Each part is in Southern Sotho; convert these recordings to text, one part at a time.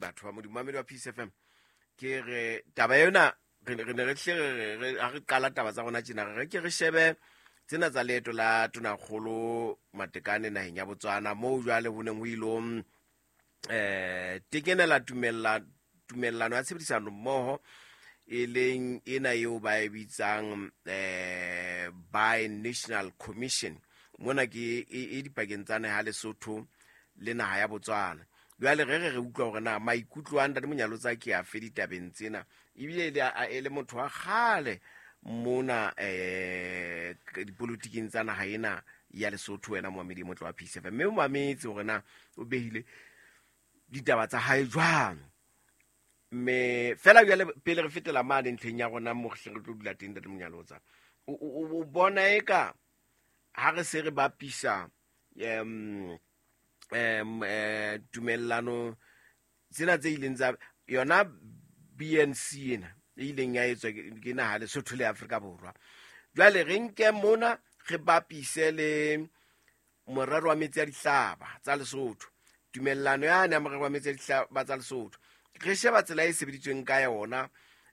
Batho ba Modimo, mamedi wa Peace FM, ke re taba ena re ne re hle re ha re qala taba tsa rona tjena, re ke re shebe tsena tsa leeto la Tonakgolo Matekane naheng ya Botswana, moo jwale ho neng ho ilo tekenela tumellano ya tshebedisano mmoho, e leng ena eo ba e bitsang Bi-National Commission. Mona ke e dipakeng tsa naha Lesotho le naha ya Botswana. Jwale re utlwa hore na maikutlo a Ntate Monyalotsa ke afe ditabeng tsena, ebile e le motho wa kgale mona dipolotiking tsa naha ena ya Lesotho. Wena momamedi motle wa Peace FM, mme o mametse hore na o behile ditaba tsa hae jwang. Mme fela jwale pele re fetela mane ntlheng ya rona mo re tlo dula teng, Ntate Monyalotsa, o bona eka ha re se re bapisa tumellano tsena tse ileng tsa yona BNC ena e ileng ya etswa ke naha Lesotho le Afrika Borwa, jwale re nke mona re bapise le morero wa metsi a dihlaba tsa Lesotho, tumellano yane ya morero wa metsi a dihlaba tsa Lesotho, re sheba tsela e sebeditsweng ka yona.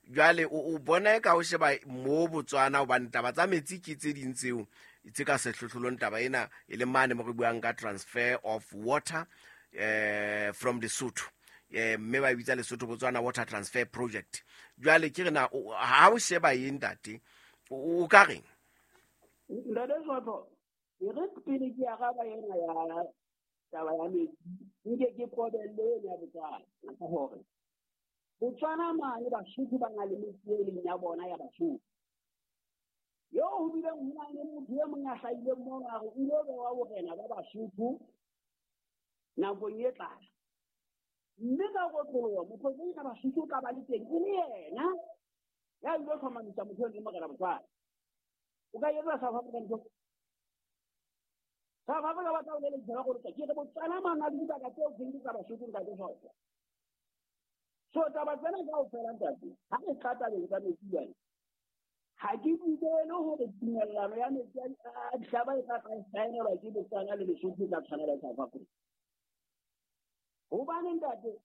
Jwale o bona ka o sheba mo Botswana, hobane taba tsa metsi ke tse ding tseo tse ka sehlohlolong taba ena e le mane mo re buang ka transfer of water from Lesotho, mme ba bitsa Lesotho Botswana Water Transfer Project. Jwale ke re na ha o sheba eng, ntate, o ka reng? Ntate Sotho, e re pele ke araba ena ya taba ya metsi, nke ke qobelle ena ya Botswana, hore Botswana mane Basotho ba na le metsi e leng ya bona ya Basotho. Eo ho bileng ho na le motho e mong a hlahileng mono a re o ilo bewa borena ba Basotho nakong e tlang. Mme ka kotloloha moprofesa Basotho o tla ba le teng e le yena ya ilo hlomamisa motho eo le morena Botswana. O ka etsa South Africa ntho. South Africa ba tla o lelekisa ba go ke re Botswana mane a le dibaka tseo ke tsa Basotho, ntate Sotho. So taba tsena kaofela, ntate, ha re tla tabeng tsa metsi jwale, ha ke dumele hore tumellano ya metsi a dihlaba e tla saenelwa ke Botswana le Lesotho e tla tshwanela South Africa. Hobane ntate,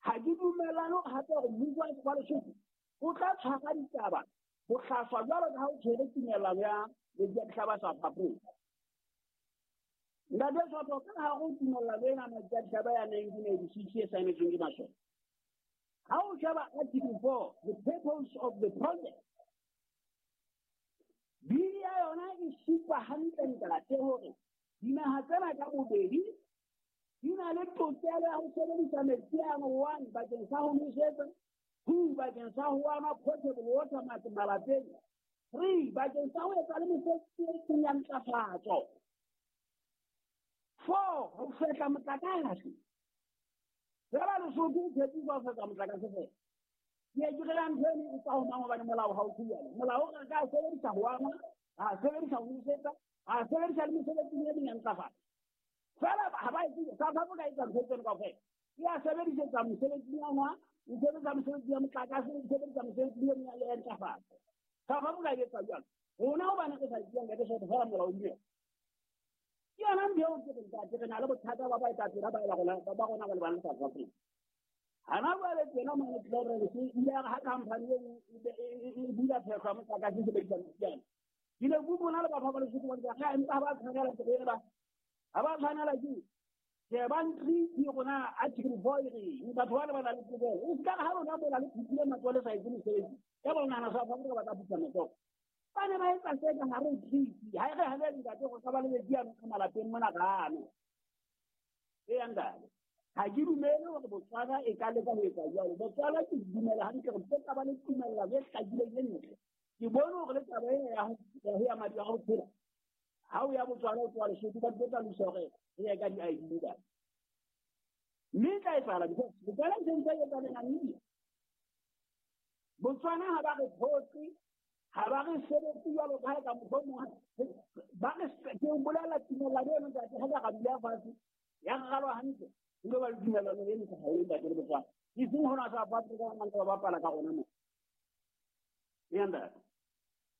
ha ke dumellane hore hape hore mmuso wa Lesotho o tla tshwara ditaba bohlaswa jwalo ka ha o tshwere tumellano ya metsi a dihlaba South Africa. Ntate Sotho, ka hare ho tumellano ena metsi a dihlaba ya 1986 e saenetsweng ke masole, ha o sheba article 4, the purpose of the project, bili ya yona e supa hantle, ntate, hore dinaha tsena ka bobedi di na le tokelo ya ho sebedisa metsi ano, one, bakeng sa ho nosetsa, two, bakeng sa ho anwa, potable water malapeng, three, bakeng sa ho etsa le mesebetsi e seng ya ntlafatso, four, ho fehla motlakase. Fela Lesotho o tshepisa ho fehla motlakase fela. Ke ke re ntho eno e tswa ho mang? Hobane molao ha o tjho. Molao re ka sebedisa ho anwa, ra sebedisa ho nosetsa, ra sebedisa le mesebetsing e meng ya ntlafatso. Fela ha ba etse. South Africa e etsa ntho tseno kaofela, e a sebedisetsa mosebetsing wa nwa, e sebedisa mosebetsi ya motlakase, e sebedisa mosebetsing e meng ya ntlafatso. South Africa e etsa jwalo. Rona hobane re sa etseng ka Sotho fela molao o ke yona ntho eo ke re, ntate, re na le bothata ba baetapele ba rona ba le bang South Africa. Hana jwale tsena mane Clarence ile ya re ha company e bula phehlo ya motlakase e sebedisa metsi, ke ne ke bona le batho ba Lesotho ba ntse empa ha ba tshwanela ke ba ha ba tshwanela ke shebang treaty rona article 4 e reng. Batho ba le ba na le tokelo, e se ka ha lona mola le phuthile matsoho le sa etse mosebetsi ka ba nahana South Africa ba tla phutha matsoho. Ba ne ba etsa se ka hare ho treaty. Ha e re ha le, ntate, go ka ba le metsi ano ka malapeng mona kano. Eya ntate, ha ke dumele hore Botswana e ka leka ho etsa jwalo. Botswana ke dumela hantle hore tse ka ba le tumellano e hlakileng e ntle. Ke bone hore le taba ena ya ho ya madi a ho phela ha o ya Botswana o tloha Lesotho, ba tlo tla lokisa hore re ye ka di-ID, ntate, mme e tla etsahala because Botswana e sentse e etsa le Namibia. Botswana ha ba re phoqe, ha ba re sebetse jwalo ka ha e ka mohlomong ba re. Ke o bolela tumellano eno, ntate, ha ka ra dula fatshe ya ralwa hantle, ile ba le tumellano e ntle haholo, ntate, le Botswana, e seng hona South Africa ba ntse ba bapala ka rona mo. Eya ntate.